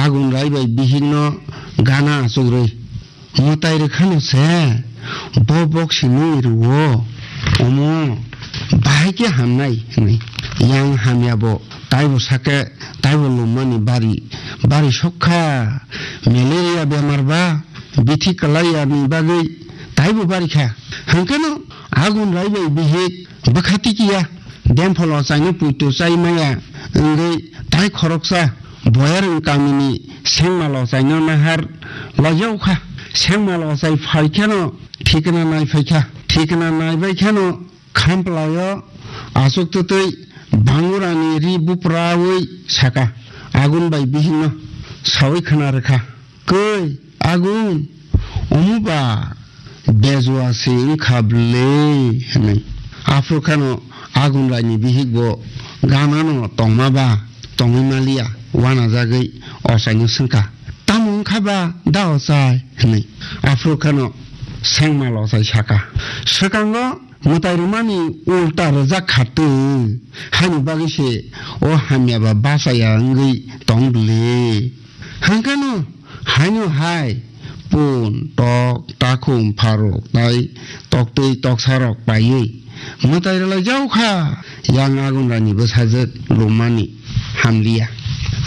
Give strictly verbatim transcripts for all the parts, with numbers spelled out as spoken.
Agun rai bai bihikno gana achukrwi mwtai rwkhano se bo boksi nungwi rwo, omo bahai khe hamnai hwnwi. Yang hamya bo taibo sakhe taibo lummani bari bari sokha, malaria bemar ba bithi kwlai yani bagwi taibo bari kha. Hwnkhe no agun rai bai bihik bwkha tikiya, dempholo chaino puito chai maya wngwi tai khoroksa Boyarwng kamini sengma lochaino nahar laijakha. Sengma lochai phai kheno thikna nai phai kha. Thikna nai bai kheno khamplaio achuk twtwi bangurani ri bupraui saka, "Agun bai bihikno saui khna rwkha." "Koi, Agun, omo ba bejua se wngkha bwle," hwnwi. Aphuru kheno Agun raini bihik bo ganano tongma ba tongwi maliya, uanajagwi ochaino swngkha, "Tamo wngkha ba da ochai?" hwnwi. Aphuru kheno sengma lochai saka, "Swkango mwtai rwmani ulta rwjak kha twi, haini bagwi se o hamya ba bachaya wngwi tong bwle." Hwnkhe no haino hai pun, tok, takhum, pharok tai toktwi toksarok paiwi mwtai rwlai jaokha. Yang Agun raini bwsajwk lummani hamliya.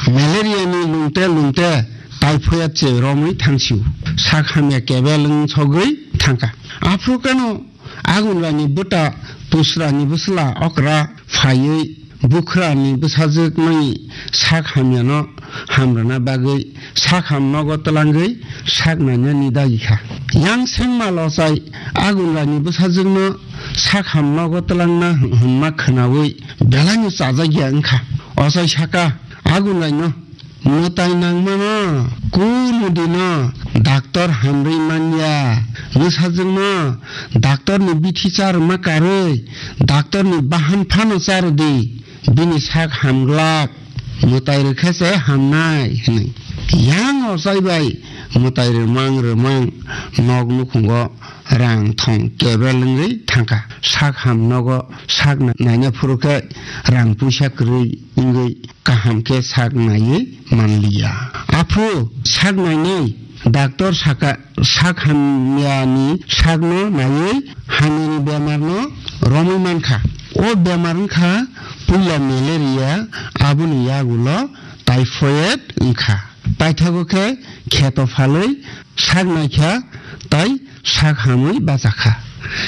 Malaria ni lungte lungte typhoid se romwi thangsio. Sak hamya kebel wng sogwi thangkha. Aphuru kheno Agun raini bwta Pusrani bwsla okra phaiwi bukhrani bwsajwkni sak hamyano hamrwna bagwi sak ham nogo twlangwi sak nainani dagi kha. Yang sengma lochai Agun raini bwsajwkno sak ham nogo twlangna hwnma khwnawi belaino chajakya wngkha. Ochai saka Agun raino, "Mwtai nangmano, kunu dino daktor hamrwi manya. Bwsajwkno daktorni bithi charwma karwi, daktorni bahan phano charwdi, bini sak hamglak. Mwtai rwkhe se hamnai," hwnwi. Yang ochai bai mwtai rwmang rwmang nok nukhungo rang thong kebel wngwi thangkha. Sak ham nogo sak na-, naina phuru khe rang puisa kwrwi wngwi kaham khe sak naiwi manliya. Aphuru sak nainai daktor saka, sak hamyani sakno naiwi hamyani bemarno romwi mankha. O bemar wngkha puila malaria, aboni yagulo typhoid wngkha. Paithago khe kheto phalwi sak naikha tai sak hamwi bachakha.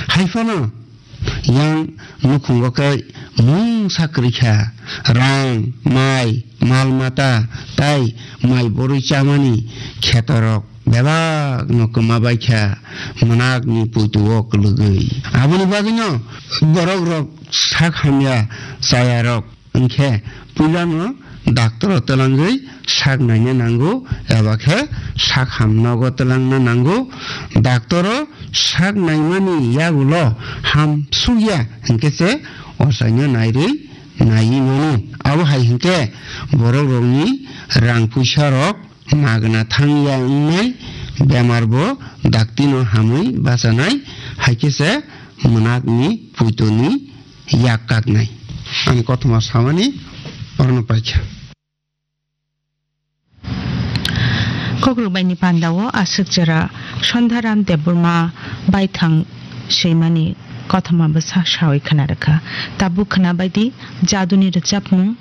Haiphano yang nukhungo khe mungsa kwrwikha, rang, mai, mal mata tai mai borwi chamani khetorok bebakno kwma baikha mwnakni puituo kwlwgwi. Aboni bagwino borokrok sak hamya chayarok Hwnkhe puilano daktoro twlangwi sak naina nango, eba khe sak hamnogo twlangna nango. Daktoro sak naimani yagulo ham sukya hwnkhe se ochaino nairwi naiwi mano. Abo hai hwnkhe borokrokni rang puisarok magna thangya wngnai, bemarbo daktino hamwi bachanai, hai khe se mwnakni puitoni yak kaknai. Ani kothoma samani orono paikha. Kokrok baini pandao aswk jora Sandharam Debbarma baithang swimani kothoma bwsa sawi khna rwkha. Tabuk khna baidi jaduni rwchapmung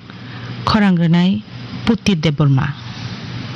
khorang rwnai Putir Debbarma.